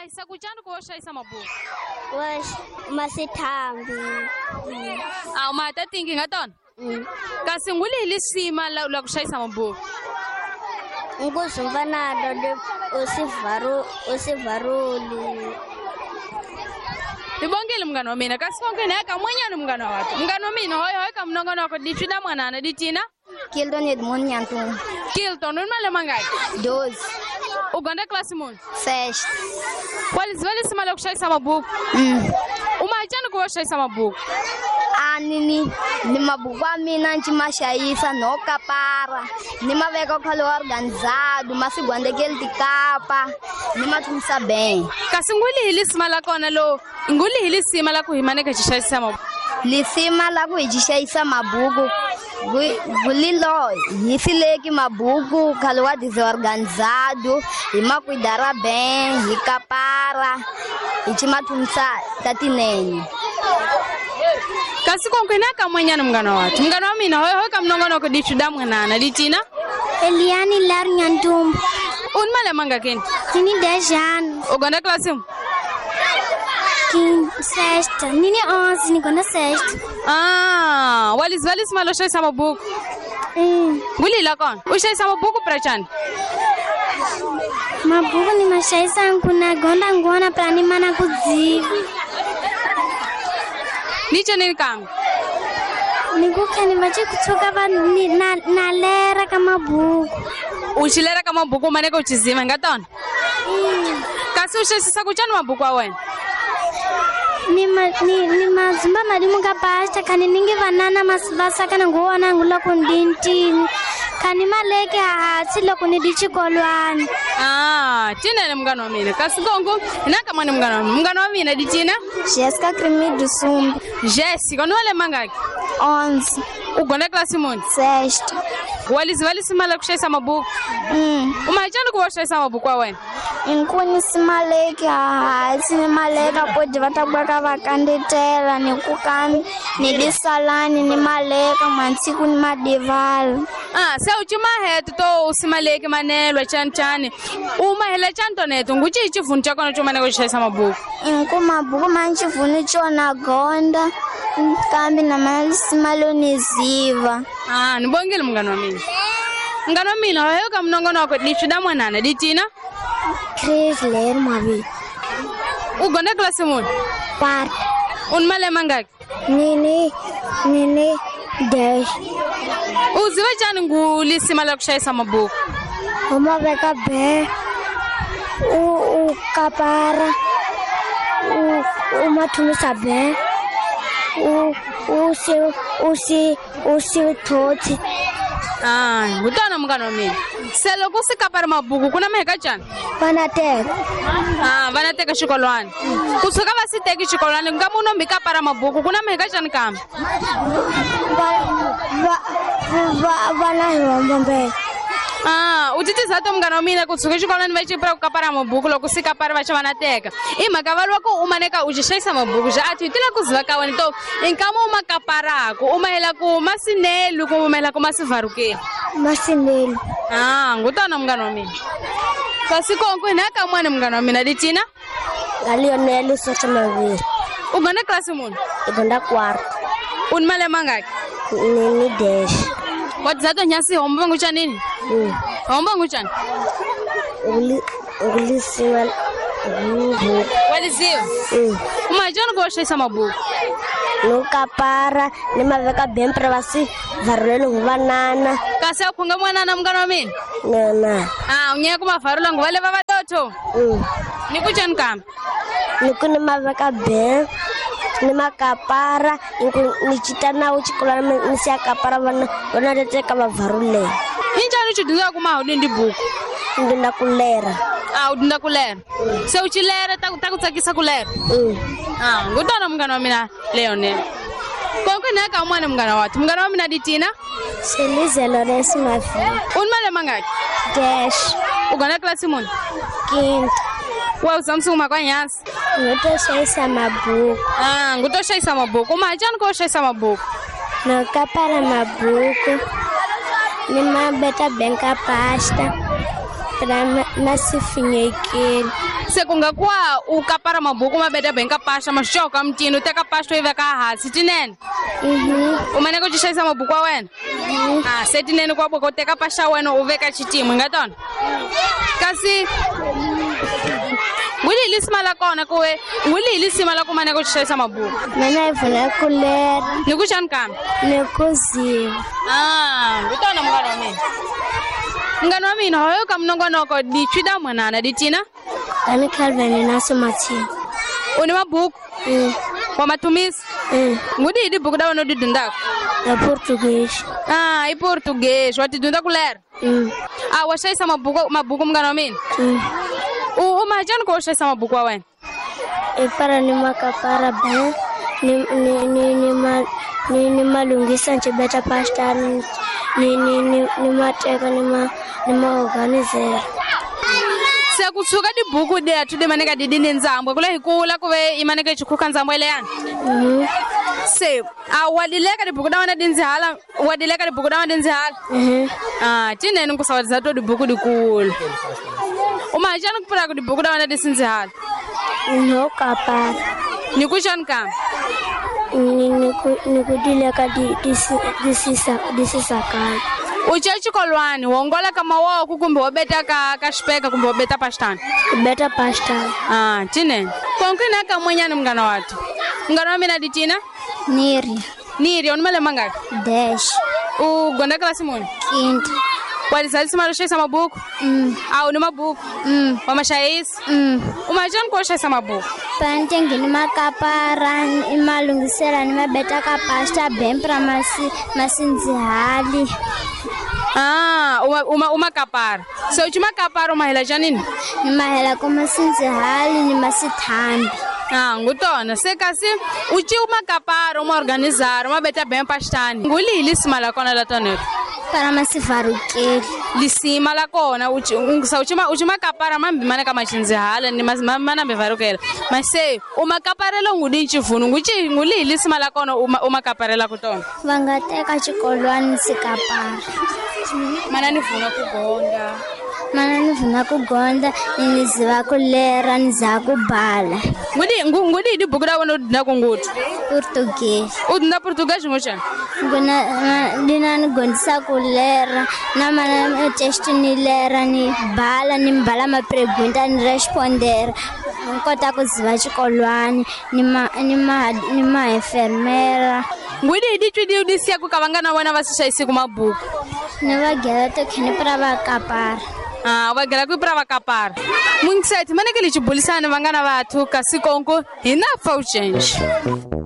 mahisa kuchani ku wo xayisa mabuku Masithambi. A ma ta tingi nga tona kasi nguli hi lisima la ku xayisa mabuku Nguzumba nalo usivaruli. Nibongile mngani wa mina kasi konke naye kamwenyani mngani wa watu mngani wa mina hoy hoy kamnongono wako ditwida mwanana ditina Kilton Edmond Nyantung. Kilton uni malembe mangaki 12. U gonda klasi muni Sexta. Waliziva lisima la ku xayisa mabuku umahacani ku wo xayisa mabuku Ani ni mabuku a mina nci ma xayisa no kapara ni ma veka khale organizado ma si gwandekeli tikapa ni ma thumisa ben kasi nguli hi lisima la kona lo nguli hi lisima la ku hi maneka xi xayisa mabuku lisima la ku hi xi xayisa mabuku gulilo hi sileki mabuku khale wa desorganizado hi ma cuidara bem hi kapara hi ci ma thumisa tatinene kasi konke na kamwenyana mngani wa watu mngani wa mina hoy hoy kamnongonoko ditwida mwanana ditina Eliane Laro Nhantumbo. Uni malembe mangakini Nini 10 anos. U gonda klasi muni Sexta. Nini 11, ni gonda sexta. Ah, waliziva lisima lo xayisa mabuku nguli la kona u xayisa mabuku prachani Mabuku ni maxayisa nkuna gonda ngona pra ni mana kudziva. Ni cenini kambe Ni ku khani va ci kutshuka va ni na lera ka mabuku. U xi lera ka mabuku u maneka u xizima hi nga tona kasi u xaxisa ku cani mabuku wa wena Ni mazumba madimu ka pasta khani ningi vanana va sakana nguwana ngu loko ndintini khani maleke hahatsi loko ni di xikolwana. Ah, tinene mngani wa mina kasi ngongo hi na kamani mngani wa mina mngani wa mina ditina Jessica Cremido Sumbi. Jessica ni wa mangaki 11. U gonda klasi muni Sexta. Waliziva lisima la ku xayisa mabuku umahacani ku va xayisa mabuku wa wena Inkuni simaleki hahatsi ni maleka podi va ta bwaka va kandetela ni ku kambi ni disalani ni maleka mwantsiku ni madivala. Ah, se u cimahete to u simaleki manelwa chani chani u mahela chani toneto ngu cihi xivhunu xa kona xo maneka ku xayisa mabuku Inku mabuku ma ncivhunu cona gonda kambi na malisima lo ni ziva. Ah, ni bongile mngani wa mina mngani wa mina hoyo ka minongonoko ditwida mwanana ditina Chris Ler Mavi. U gonda klasi muni Quarta. U ni malembe mangaki Nini 10. U ziva chani ngu lisima la ku xayisa mabuku U ma veka be u kapara u ma thumisa be u si thotsi. Ah, ngutana mngani wa mina se loko u si kapara mabuku ku na maheka cani Va na teka. Ah, va na teka xikolwana kusuka va si teki xikolwana nga munhu mi kapara mabuku ku na maheka cani kambe Va na hi hombombela. Ah, u titisa to mngani wa mina kusuka xikolwana va cipira ku kapara mabuku loko si kapara va xa va na teka i mhaka va lwa ku u maneka u xi xayisa mabuku xa a thi tila ku ziva ka wena to i nkama u ma kaparaku u mahela ku ma sineli kumbe u mahela ku ma sivarukeni Masineli. Ah, ngutana mngani wa mina kasi konko hi na kamwana mngani wa mina ditina Nga Lionel Socha Maviri. U gonda klasi muni I gonda quarta. U ni malembe mangaki Nini 10. Wa tiza to nyasi homba nguchanini homba nguchani Ngulisiwa ngubuku. Waliziwa umahacani ku wa xayisa mabuku No kapara ni maveka bempre va si varuleli ngu vanana. Kasi a khunga mwanana mngani wa mina Nana. Ah, u nyeka ku mavarula ngu va leva va lotho ni ku cani kambe Ni ku ni maveka ben ni makapara ni cita nawo xikolwana ni siya kapara vana teteka va varulela. I ncani u xi dyondzaka ku maha u dindi buku Ndinda ku lera. Ah, u dyondza ku lera se u ci lera ta ku tsakisa ku lera Ah, ngutana mngani wa mina Leonel konke ni ka mwana mngani wa watu mngani wa mina ditina Selize Lawrence Mavi. U ni malembe mangaki 10. U gonda klasi muni Quinta. Wa u zamsuma kwa nyasi Nguto xayisa mabuku. Ah, nguto xayisa mabuku umahacani ko xayisa mabuku No kapara mabuku ni ma beta benka pasta. Pra masifinyekeli. Se ku nga kuwa u kapara mabuku ma beta benka pasha mashoka mtini u teka pasha u yi veka hansi tinene. U maneka u xayisa mabuku wa wena. Ah, se tinene kwa boka u teka pasha wena u veka xitimu nga tona. Kasi nguli lisima la kona kuwe nguli lisima la ku maneka u xayisa mabuku. Mina hi vula ku lera. Ni ku xani kambe? Ni ku ziva. Ah, ngutona munghana wa mina. Munghana wa mina hoyo ka minongonoko di chwida mwanana di tina? Ani Calvin na Somathini. U ni mabuku? Wa mathumisi? Ngudi hi tibuku ta wena u ti dyondzaka? Ya Portuguese. Ah, i Portuguese. Wa ti dyondza ku lera? Ah, wa xayisa mabuku munghana wa mina? U ma njhani ku u xayisa mabuku wa wena? I para ni makapara ben ni ni malunghisa ncibeta pasta ni mateka ni maorganizera. Se ku tshuka tibuku letu ti maneka ti di ni ndzambo kule hi kula ku ve i maneka xikhuka ndzambo leyani. Se a wa dileka tibuku ta wena ti ndzihala wa dileka tibuku ta wena ti ndzihala. Ah, tinene ku sawatisa to tibuku dikulu. U ma njhani ku pfula ku tibuku ta wena ti sindzihala? No kapara. Ni ku xani kambe? Ni ku dileka di sisakala. U ca xikolwani wongola ka mawoko kumbe wo beta ka xipeka kumbe wo beta pastani? Beta pastani. Ah, tinene. Konke na ka mwenyani munghana watu. Munghana wa mina di tina? Niri. Niri, u ni malembe mangaki? 10. U gonda klasi muni? Quinta. Wa lisalisima ro xayisa mabuku? A u ni mabuku? Wa ma xayisa? U ma njhani ku u xayisa mabuku? Pantengi ni makapara ni malunghisela ni mabeta ka pasta bempra masindzihali. Ah, uma makapara. Se u makapara u mahela njhanini? Ni mahela ku masindzihali ni masithambi. Ah, ngutona se kasi u ci makapara uma organizar uma beta bem pastani. Nguli lisima la kona la tonero. Para masivarukeli. Lisima la kona u ci makapara mambi mana ka machindzihala ni mana mbivarukela. Mase u makaparela ngudi nchivunu nguchi nguli lisima la kona u makaparela kutona. Va nga teka xikolwani sikapara. Mana ni vuna ku gonda. Mana ni vuna ku gonda ni ziva ku lera ni za ku bala. Ngudi tibuku ta wena u dyondza ku nguthu? Portuguese. U dyondza Portuguese ngoxana? Nguna dina ni gondisa ku lera na mana test ni lera ni bala ni mbala ma pregunta ni responder. Ni kota ku ziva xikolwani ni ma enfermera. Ngudi di twi di siya ku ka vangana wena va si xayisi ku mabuku. Ni va gela tikhini pra va kapara. Ah, va gela ku pra va kapara. Mungiseti maneke li chibulisana vangana vathu kasi konko hi na fa u change.